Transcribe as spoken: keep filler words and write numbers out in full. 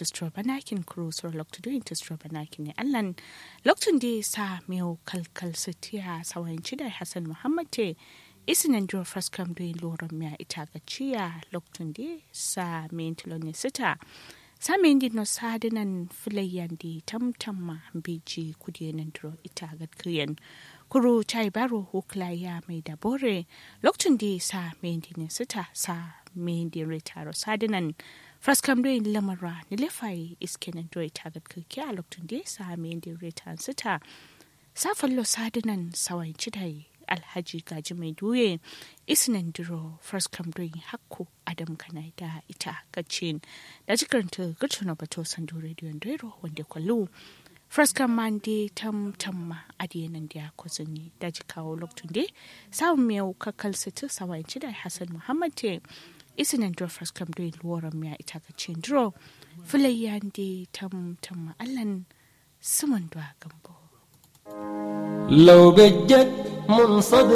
tusturo banakin kuru suro loktu doyin tusturo banakin ne allan. Loktun de sa mewu kalkal sitiya sawayin cidai hassan muhammad te. Isi nandiro fraskam doyin loron miya ita gaciya loktun de sa meyin tulon ne sita. Sa meyin din no sadinan filayyan de tamtamma biji kudiye nandiro ita gatkiyen. Kuru cai baro wukla ya mai da bore. Loktun de sa meyin din ne sita sa meyin din retaro sadinan. Fraskam doyin lamarwa nilefaye iske nandiro ita gatkirkiya loktun de sa meyin din retan sita. Sa fallo sadinan sawayin cidai alhaji gaji mai duye. Isi nandiro fraskam doyin hakku adam kanai da ita gacin. Da jikaranta gurtuno bato sandu rediyon doiro wande kwallu. Fraskam man de tamtamma adiye nan da ya kozini da jikawo loktun de. Sawun mewu kakkal situ sawayin cidai hassan muhammad te. Isi nandiro fraskam doyin loron miya ita gacin duro. Filayyan de tamtamma allan. Suman duwa gambo. Laubejjet mun